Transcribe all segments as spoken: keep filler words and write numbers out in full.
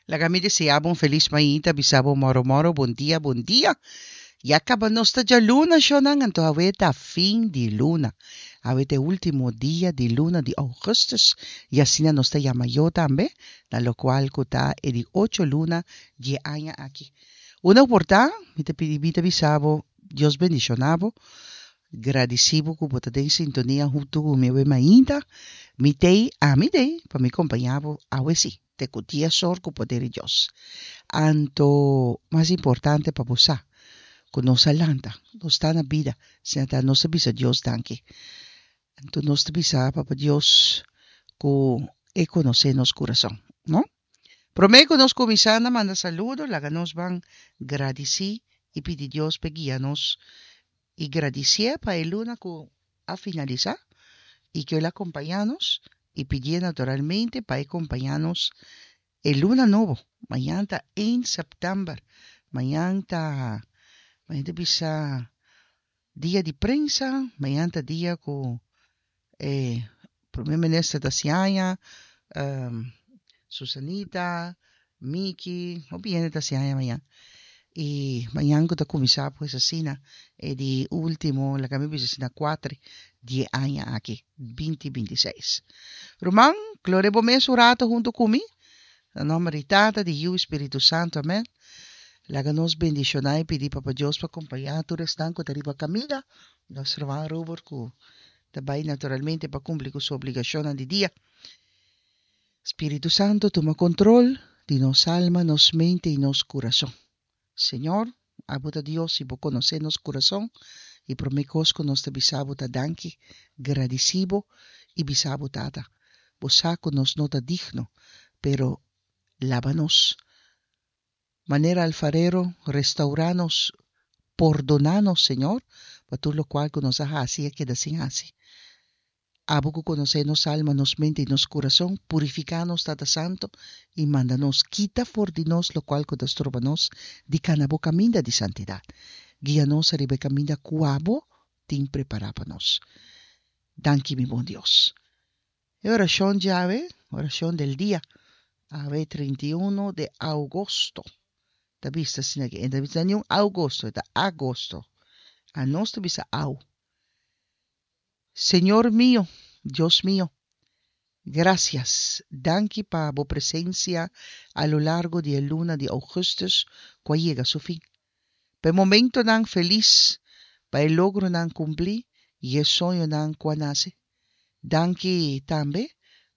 Laga mi deseá bo un felis mainta, bisa bo moro moro, bon dia, bon dia. Ya kaba nos ta djaluna, shonnan, anto awe ta fin di luna. Awe ta e último dia di luna di ougùstùs i asina nos ta yama yo tambe, na lokual ku ta e di ocho luna di e aña aki. Unda ku por ta, mi ta pidi mi ta bisa bo, Dios bendishoná bo. Gradisí bo ku bo ta den sintonia huntu ku mi awe mainta. Mi t'ei, ami t'ei, pa mi kompañá bo awe sí, te ku dies or ku poder di Dios. Anto, mas importante pa bo sa, ku nos a lanta, nos ta na bida, asina ta nos ta bisa Dios danki. Anto nos ta bisa Papa Dios ku e konosé nos kurason, no? Promé ku nos kuminsá na manda saludo, laga nos ban gradisí i pidi Dios p'e guia nos i gradisié pa e luna ku a finalisá i ku el a kompañá nos i pidié naturalmente pa e kompañá nos e luna nobo. Mañan ta ein sèptèmber, mañan ta, mañan ta bisa dia di prensa, mañan ta dia ku e prome minister ta hasi aña, Susanita, Miki, hopi hende ta hasi aña mañan. I mañan ku ta kuminsá pues asina e di último, laga mi bisa asina kuater di e aña aki, binti binti seis. Ruman, klore bo mes un rato huntu ku mi. Na nòmber di Tata, di Yu i Spiritu Santu, amèn. Laga nos bendishoná i pidi Papa Dios pa kompañá tur esnan ku ta riba kaminda, nos ruman Robert ku ta bai naturalmente pa kumpli ku su obligashonnan di dia. Spiritu Santu tuma kontrol di nos alma, nos mente i nos kurason. Señor, abo ta Dios i bo konosé nos kurason, i promé kos ku nos ta bisa bo ta danki, gradisí bo i bisa bo, Tata, bo sa ku nos no ta digno, pero laba nos. Manera alfarero, restaurá nos, pordoná nos, Señor, pa tur lokual ku nos a hasi i a keda sin hasi. Abo ku konosé nos alma, nos mente i nos kurason, purifiká nos, Tata Santu, i manda nos kita for di nos lokual ku ta stroba nos di kana bo kaminda di santidat. Guia nos ariba e kaminda ku abo tin prepará pa nos. Danki, mi bon Dios. E orashon djawe, orashon del dia, awe trinta i unu de ougosto. Ta bisa asina ke, e ta bisa niun ougosto, e ta agosto. Anos ta bisa au. Señor mio, Dios mio, gracias, danki pa bo presencia a lo largo di e luna di augustus cu a yega su fin. Pa e momentonan feliz, pa e logronan cumpli y e soñonan cu a nace. Danki tambe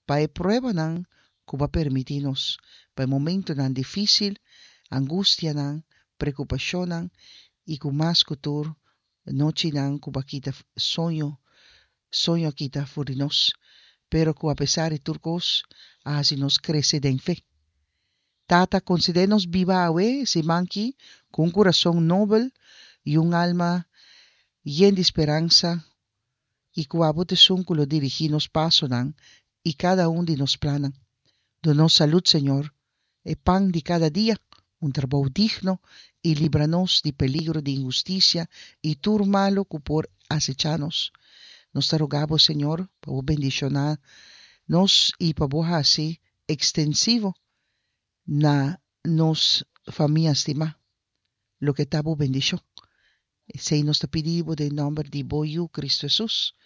pa e pruebanan cu bo a permiti nos, pa e momentonan dificil, angustianan, preocupacionnan y cu mas cu tur nochinan cu bo a kita soño, soño a kita for di nos, pero cu apesar di tur cos a haci nos crece den fe. Tata, concede nos biba awe e siman ki cu un curason nobel y un alma yen di speransa i ku abo ta esun ku lo dirigí nos pasonan i kada un di nos plannan. Duna nos salud, Señor, e pan di kada dia, un trabou digno, i libra nos di peligro di inhustisia i tur malu ku por asechá nos. Nos ta roga bo, Señor, pa bo bendishoná nos i pa bo hasi ekstensivo na nos famia stimá loke ta bo bendishon. Esei nos ta pidi bo den nòmber di bo Yu, Kristu Hesus.